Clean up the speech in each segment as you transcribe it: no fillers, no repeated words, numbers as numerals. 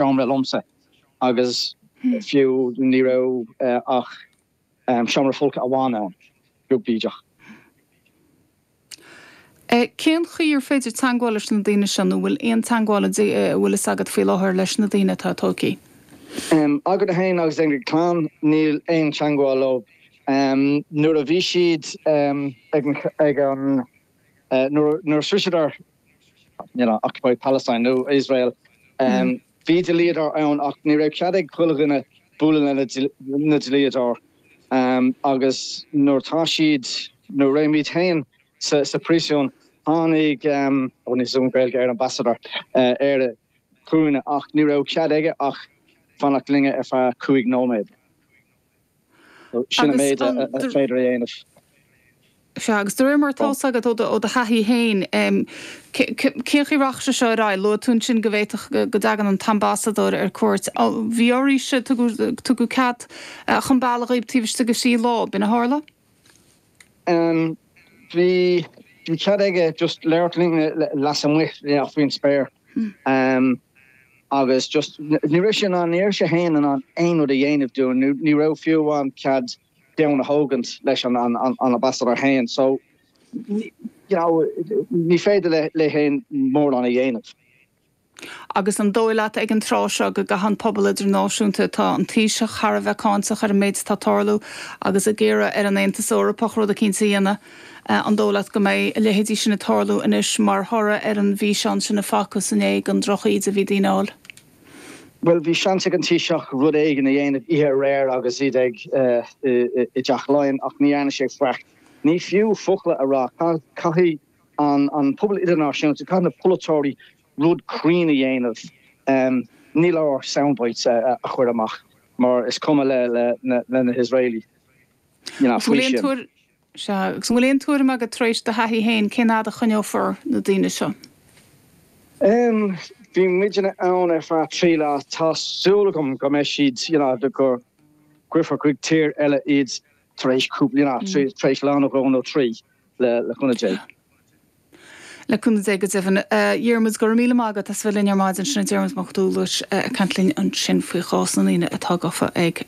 seomra liomsa agus fiú ní raibh ach seomra folctha amháin ann, beag bídeach. Cén chaoi ar féidir teangmháil leis na daoine seo nó an bhfuil aon teangmháil a bhfuil fhios agat faoi láthair leis na daoine atá tógtha? Againne féin agus ag an clann níl aon teangmháil leo. Nuair a bhí siad ag an nuair a shroiseadar you know occupied Palestine nó Iosrael bhí dlíodóir ann ach ní raibh cead ag chuile dhuine bualadh le na dlíodóir. Agus nuair atá siad, nuair a raibh muid féin sa phríosún, tháinig, ó níl a fhios agam Gaeilge ar ambassador, Éire chugainne ach ní raibh cead aige ach fanacht linne ar feadh 5 nóiméad. Sin an méid a féidir a dhéanamh. Sea, agus de réir mar atá fhios agat ó do thaithí féin, cén chaoi a rachaidh sé seo ar aghaidh? Luaigh tú ansin go bhféadfadh go dtagann an t-ambasadóir ar cuairt. Bhí oraibhse, tugadh cead chun bealaigh dhaoibh taobh istigh de thrí lá, b'in a tharla? Bhí cead aige just labhairt linn lasmuigh, faoin spéir. Agus just ní raibh sé in ann, ní raibh sé féin in ann aon rud a dhéanamh dúinn, ní raibh fiú amháin cead peann a thógaint leis an ambassador féin so you know ní féidir le féin mórán a dhéanamh. Agus an dóigh leat ag an tráth seo go gcaithfidh an pobal idirnáisiúnta, tá an Taoiseach thar a bheith cáinteach ar an méid atá ag tarlú agus ag iarraidh ar an Aontas Eorpach rud eicínt a dhéanamh, an dóigh leat go mbeidh a leithéidí sin ag tarlú anois mar thoradh ar an bhfíseán sin a facthas inné den drochíde a bhí daoine a fháil? Bhuel, bhí seans ag an Taoiseach rud éigin a dhéanamh oíche aréir agus iad ag i dTeach Laighean ach ní dhearna sé faic. Ní fiú focla a rá. Caithfidh an pobal idirnáisiúnta, caithfidh na polaiteoirí rud cruinn a dhéanamh. Ní leor soundbites a chur amach mar is cuma le na hIosraelaigh faoi sin. Sea, agus an bhfuil aon tuairim agat tar éis do thaithí féin cén fhad a choinneofar na daoine seo? Em, bhí muidne ann ar feadh 3 lá, tá súil agam go mbeidh siad, you know, go gcuirfear chuig tír eile iad tar éis cúpla, you know, tar éis lá nó dhó nó trí, le le cúnamh Dé. Le cúnamh Dé go deimhin. A Dhiarmuid, go raibh míle maith agat as a bheith linn ar maidin. Sin é Diarmuid Mac Dúghlais ag caint linn ansin faoi chás na ndaoine atá gafa ag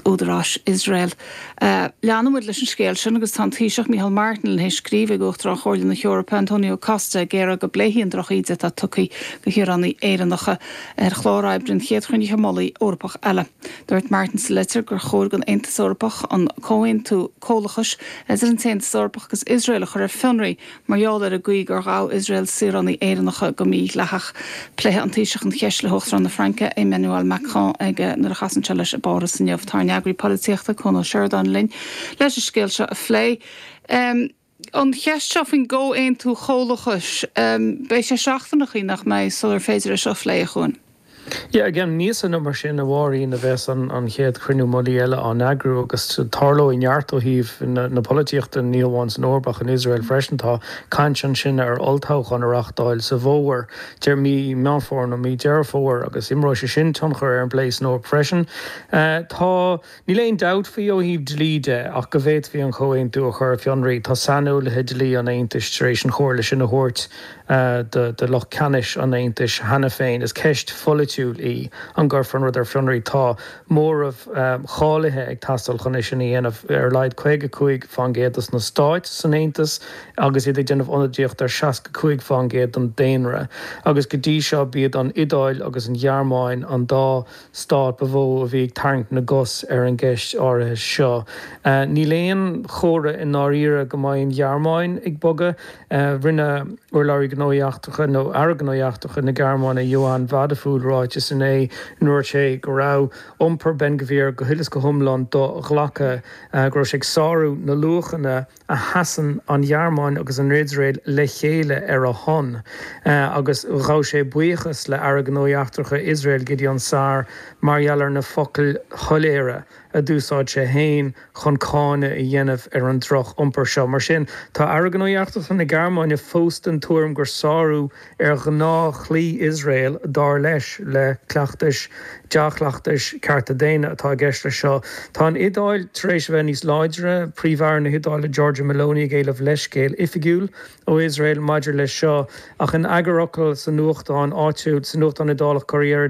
údaráis Iosrael. Leanfaidh muid leis an scéal sin agus tá an Taoiseach Micheál Martin théis scríobh ag Uachtarán Chomhairle na hEorpa, Antonio Costa, ag iarraidh go bpléifí an drochíde atá tugtha do shaoránaigh Éireannacha ar chlár oibre an chéad chruinnithe mullaigh Eorpach eile. Dúirt Martin sa litir gur chóir don Aontas Eorpach an Comhaontú Comhlachais idir an tAontas Eorpach agus Iosrael a chur ar fionraí mar gheall ar an gcaoi gur ghabh Iosrael saoránaigh Éireannacha go mídhleathach. Pléifidh an Taoiseach an cheist le hUachtarán na Fraince, Emmanuel Macron ag nuair a chasann sé leis i bPáras inniu. Tá ár n-eagraí polaitíochta, Cuan Ó Seireadáin linn leis an scéal seo a phlé. An cheist seo faoin gComhaontú Comhlachais, beidh sé seachtaineachaí nach mbeidh sular féidir é seo a phlé, a Chuain? Yeah, i gceann míosa nó mar sin, a Mháirín, a bheas an chéad chruinniú mullaigh eile á n-eagrú agus tarlóidh neart ó thaobh na polaitíochta, ní hamháin san Eoraip ach in Iosrael freisin. Tá caint ansin ar olltoghchán a reáchtáil sa bhfómhar, deir mí Meán Fómhair nó mí Deireadh Fómhair, agus imreoidh sé sin tionchar ar an bplé san Eoraip freisin. Tá. Níl aon dabht faoi ó thaobh dlí de ach go bhféadfaí an comhaontú a chur ar fionraí. Tá saineolaithe dlí an Aontais tar éis an chomhairle sin a thabhairt do lucht ceannais an Aontais cheana féin. Is ceist pholaitiúil í an gcuirfear an rud ar fionraí. Tá móramh cáilithe ag teastáil chun é sin a dhéanamh, ar a laghad 55% dos na stáit san Aontas agus iad ag déanamh ionadaíocht ar 65% den daonra. Agus go dtí seo b'iad an Iodáil agus an Ghearmáin an dá stát ba mhó a bhí ag tarraingt na gcos ar an gceist áirithe seo. Níl aon chomhartha i ndáiríre go mbeidh an Ghearmáin ag bogadh. Rinne urlabhraí Gnóthaí Eachtracha, nó Aire Gnóthaí Eachtracha na Gearmáine, Johann Wadephul, ráiteas inné ina ndúirt sé go raibh iompar Ben Gvir go huile is go hiomlán do-ghlactha, go raibh sé ag sárú na luachanna a sheasann an Ghearmáin agus an Iosrael le chéile ar a shon, agus ghabh sé buíochas le Aire Gnóthaí Eachtracha Iosrael Gideon Saar mar gheall ar na focail shoiléire a d'úsáid sé féin chun cáineadh a dhéanamh ar an droch-iompar seo. Mar sin, tá Aire Gnóthaí Eachtracha na Gearmáine fós den tuairim gur sárú ar ghnáth-dhlí Iosrael, dar leis. le cleachtais, dea-chleachtais cearta daonna atá i gceist leis seo. Tá an Iodáil tar éis a bheith níos láidre, Príomh-Aire na hIodáile Giorgia Meloni ag éileamh leithscéal oifigiúil ó Iosrael maidir leis seo, ach in eagarfhocal sa nuachtán áitiúil, sa nuachtán Iodálach Corriere.